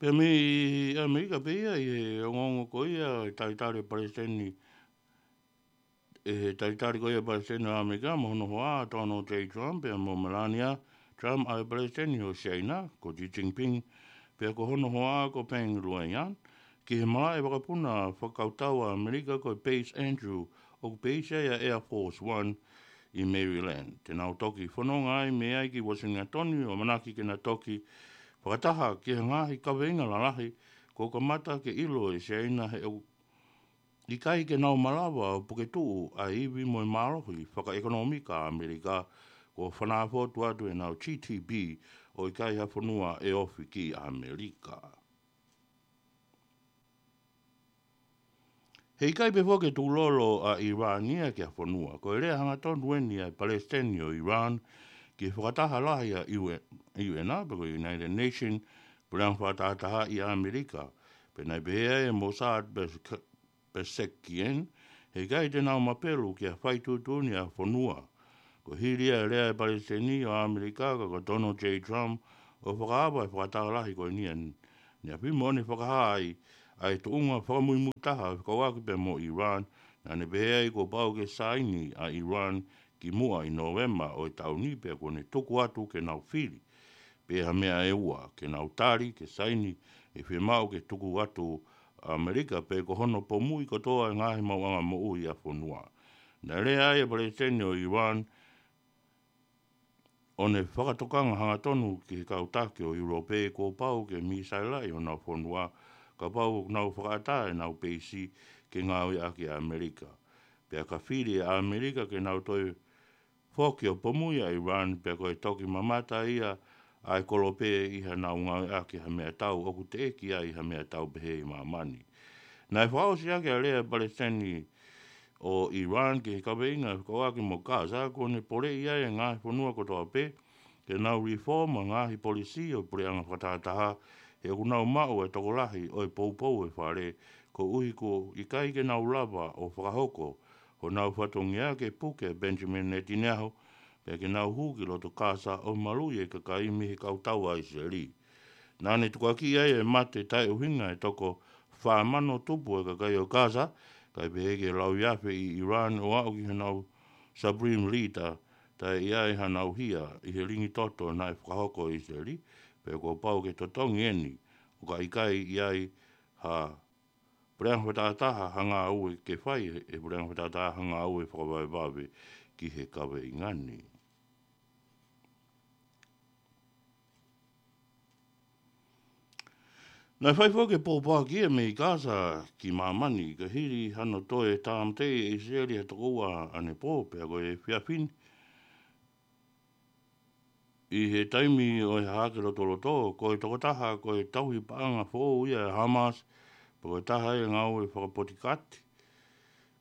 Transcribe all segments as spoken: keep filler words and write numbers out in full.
Pea mei ʻAmelika pē ia ʻi he ongoongo ko ia ʻe talitali Palesiteni, ʻe he talitali ko ia Palesiteni ʻo ʻAmelika mo hono hoa Donald J Trump pea mo Melania Trump ʻa e Palesiteni ʻo Siaina ko Xi Jinping pea ko hono hoa ko Peng Lhuyan ki he malaʻe vakapuna fakakautau ʻa ʻAmelika ko e Prince Andrew ʻoku peisi ai ʻa Air Force One ʻi Maryland. Te nau toki fononga ai mei ai ki Washington ʻo manaki ke na toki fakataha ki he ngaahi kaveinga lalahi kuo kamata ke ʻilo ʻe Siaina he ʻoku ʻikai ke nau malava ʻo puke tuʻu ʻa e ivi mo e mālohi fakaʻekonōmika ʻa ʻAmelika kuo fanafo atu ʻenau G D P ʻo ʻikai ha fonua ʻe ofi ki ʻAmelika. He ʻikai pē foki ke tukulolo ʻa ʻIrani ia ki ha fonua. Ko e lea hangatonu eni ʻa e Palesiteni ʻo ʻIrani ki he fakataha lahi ʻa e U N, U N pe ko e United Nations, Puleʻanga Fakatahataha ʻi ʻAmelika. Pea naʻe pehē ai ʻe Mossad Pes-, Pezeshkian, he ʻikai te nau mapelu ki ha fai tuʻutuʻuni ʻa e fonua. Ko e hili ia e lea ʻa e Palesiteni ʻo ʻAmelika ko Donald J Trump ʻo fakaava e fakataha lahi ko eni ʻaneafi mo ne fakahā ai ʻa e tuʻunga fakamuimui taha ʻo fekauʻaki pea mo ʻIrani, naʻa ne pehē ai kuo pau ke saini ʻa ʻIrani kimuʻa ʻi Nōvema ʻo e taʻu ni pea kuo ne tuku atu ke nau fili pē ha meʻa ʻe ua ke nau tali ke saini ʻe fiemaʻu ke tuku atu ʻa ʻAmelika pe ko hono pomuʻi kotoa e ngaahi maʻuʻanga moʻui ʻa e fonua. Naʻe lea ai ʻa e Palesiteni ʻo ʻIrani ʻo ne fakatokanga hangatonu ki he kau taki ʻo ʻIulope kuo pau ke mīsailaʻi honau fonua kapau ʻoku nau fakaʻatā ʻenau peisi ke ngāueʻaki ʻe ʻAmelika. Pea ka fili ʻe ʻAmelika ke nau toe foki ʻo pomuʻi ʻa ʻIrani pea ko e toki mamata ia ʻa e kolope ʻi haʻanau ngāueʻaki ha meʻatau ʻoku teʻeki ai ha meʻatau pehē ʻi māmani. Naʻe fakaʻosi ʻaki ʻa e lea ʻa e Palesiteni ʻo ʻIrani ki he kaveinga fekauʻaki mo Gaza kuo ne poleʻi ai e ngaahi fonua kotoa pē ke nau reform ʻa e ngaahi polisi ʻo e Puleʻanga Fakatahataha he ʻoku nau maʻu e tokolahi ʻo e poupou ʻo e fale koeʻuhi kuo ʻikai ke nau lava ʻo fakahoko honau fatongia ke puke ʻa Benjamin Netanyahu pea ke nau hū ki loto Gaza ʻo maluʻi e kakai mei he kau tau ʻa ʻIsileli. Naʻa ne tukuakiʻi ai e mate taʻeʻuhinga ʻe toko fā mano tupu e kakai ʻo Gaza, kae pehē ki he lauiafe ʻi ʻIrani ʻo aʻu ki honau Supreme Leader taʻe ʻi ai hanau hia ʻi he lingi toto naʻe fakahoko ʻe ʻIsileli, pea kuo pau ke totongi eni ʻo ka ʻikai ʻi ai ha Puleʻanga Fakatahataha ha ngāue ke fai ʻe he Puleʻanga Fakatahataha ha ngāue fakavavevave ki he kaveinga ni. Naʻe fai foki e pōpoaki ia mei Gaza ki māmani ka hili hano toe tāmateʻi ʻe ʻIsileli ha toko ua ʻanepō pea ko e efiafi ni ʻi he taimi ʻo e hahake lotoloto, ko e tokotaha ko e tauhi paʻanga foʻou ia ʻa e Hamas, pea ko e taha ia e ngāue fakapotikati,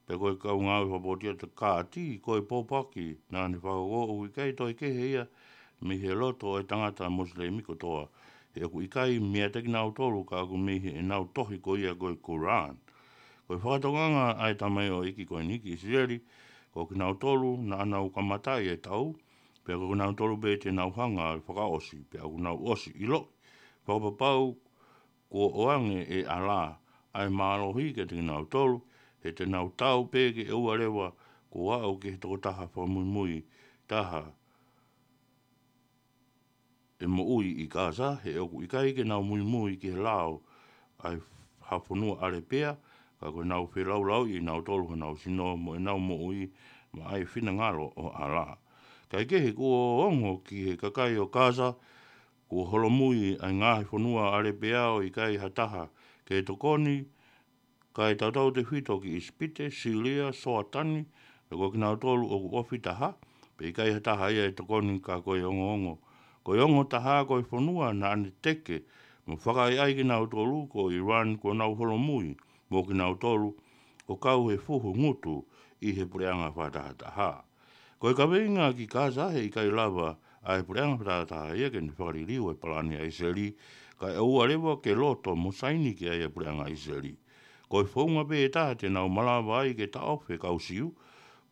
pea ko e kau ngāue fakapotikati, ko e pōpoaki naʻa ne fakahoko ʻoku ʻikai toe kehe ia mei he loto ʻo e tangata Mosilemi kotoa, he ʻoku ʻikai meiate kinautolu ka ʻoku mei heʻenau tohi ko ia ko e Koran. Ko e fakatokanga ʻa e tamaioʻeiki ko eni ki ʻIsileli, ko kinautolu naʻa nau kamataʻi e tau, pea ko kinautolu pē te nau hanga ʻo fakaʻosi, pea ʻoku nau ʻosi ʻiloʻi fakapapau kuo ʻoange ʻe ʻAla ʻa e mālohi kiate kinautolu, he te nau tau pē ke ʻoua leva kuo aʻu ki he tokotaha fakamuimui taha ʻe moʻui ʻi Gaza, he ʻoku ʻikai ke nau muimui ki he lao ʻa e ha fonua ʻAlepea, ka ko ʻenau felaulauʻi ʻe nautolu honau sino mo ʻenau moʻui maʻa e finangalo ʻo ʻAla. Kaekehe kuo ongo ki he kakai ʻo Gaza, kuo holomui ʻa e ngaahi fonua ʻAlepea ʻo ʻikai ha taha ke tokoni, kae tautautefito ki ʻIsipite, Sīlia, Soatani, pea ko kinautolu ʻoku ofi taha, pea ʻikai ha taha ia ʻe tokoni ka ko e ongoongo. Ko e ongo taha ko e fonua naʻa ne teke mo fakaʻaiʻai kinautolu ko ʻIrani kuo nau holomui mo kinautolu ʻo kau he fuhu ngutu ʻi he Puleʻanga Fakatahataha. Ko e kaveinga ki Gaza he ʻikai lava ʻa e Puleʻanga Fakatahataha ia ke ne fakaliliu e palani ʻa ʻIsileli, kae ʻoua leva ke loto mo saini ki ai e Puleʻanga ʻIsileli. Ko e founga pē ʻe taha te nau malava ai ke taʻofi e kau Siu,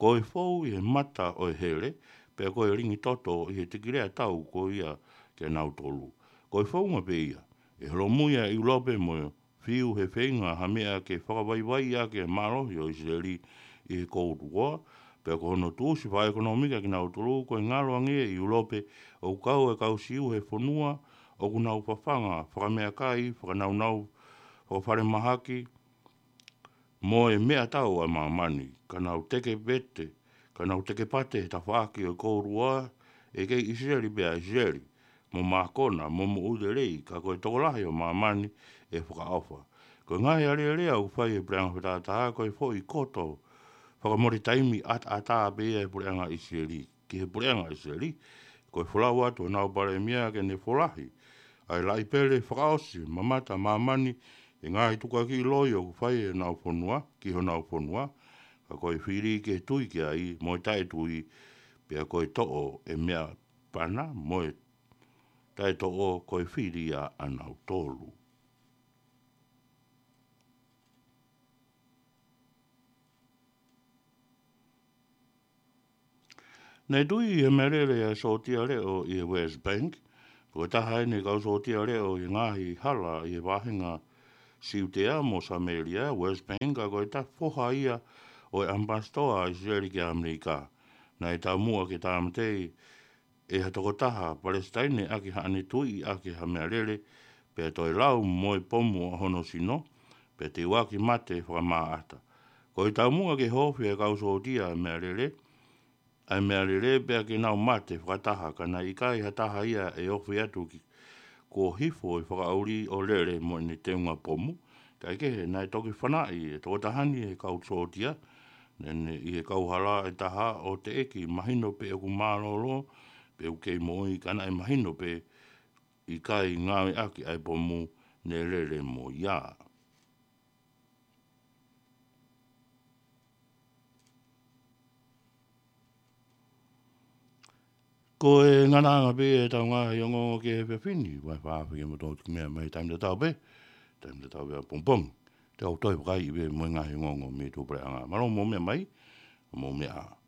ko e fou ʻi he mata ʻo e hele, pea ko e lingi toto ʻi he tikilea tau ko ia kia nautolu. Ko e founga pē ia, ʻE holomui ʻa ʻIulope mo fiu he feinga ha meʻa ke fakavaivaiʻi ʻaki e mālohi ʻo ʻIsileli ʻi he Cold War, pea ko hono tuʻusi fakaʻekonōmika kinautolu, ko e ngalo ange ʻi ʻIulope ʻoku kau e kau Siu he fonua ʻoku nau fafanga fakameʻakai, fakanaunau fakafalemahaki, mo e meʻatau ʻa māmani, ka nau teke pete, ka nau teke pate he tafaʻaki ʻo e Cold War, ʻe kei ʻIsileli pē ʻa ʻIsileli, mo mākona, mo moʻui lelei, ka ko e tokolahi ʻo māmani ʻe fakaʻofa. Ko e ngaahi alēlea ʻoku fai ʻe he puleʻanga fakatātā, ko e foʻi koto fakamole taimi ʻataʻatā pē ia ʻe he puleʻanga ʻIsileli ki he puleʻanga ʻIsileli, ko e folau atu honau palēmia ke ne folahi ʻa e laʻi pele fakaʻosi mamata māmani ʻi he ngaahi tukuakiʻi loi ʻoku fai ʻe honau fonua ki honau fonua, ka ko e fili ke tui ki ai mo e taʻetui, pea ko e toʻo e meʻa pana mo e taʻetoʻo ko e fili ʻa ʻanautolu. Naʻe tui ʻe he meʻalele ʻa e sōtia leʻo ʻi he West Bank, ko e taha ʻeni e kau sōtia leʻo ʻi he ngaahi hala ʻi he vahenga Siutea mo Samēlia, West Bank, ka ko e taha foha ia ʻo e ʻamipasitoa ʻa ʻIsileli ki ʻAmelika. Naʻe taumuʻa ke tāmateʻi ʻe ha tokotaha Palesitaine ʻaki haʻane tui ʻaki ha meʻalele, pea toe lau mo e pomu ʻa hono sino, pea teuaki mate fakamāʻata. Ko e taumuʻa ke hōfia e kau sōtia ʻa e meʻalele, ʻa e meʻalele pea ke nau mate fakataha, ka naʻe ʻikai ha taha ia ʻe ofi atu ki, kuo hifo e fakaʻuli ʻo lele mo ʻene teunga pomu. Kaekehe, naʻe toki fanaʻi e tokotaha ni ʻe he kau sōtia, naʻe ʻi he kauhala ʻe taha ʻo teʻeki mahino pe ʻoku mālōlō, pe ʻoku kei moʻui, ka naʻe mahino pe ʻikai ngāueʻaki ʻa e pomu ne lele mo ia. Ko e ngataʻanga pē ʻetau ngaahi ongoongo ki he efiafi ni, ʻoku fakaafeʻi kimoutolu ki he meʻa mai taimi tatau pē, taimi tatau pē ʻapongipongi. Te u toe fakaiʻi pē mo e ngaahi ongoongo mei tuʻapuleʻanga. Mālō hoʻomou meʻa mai, hoʻomou meʻa ā.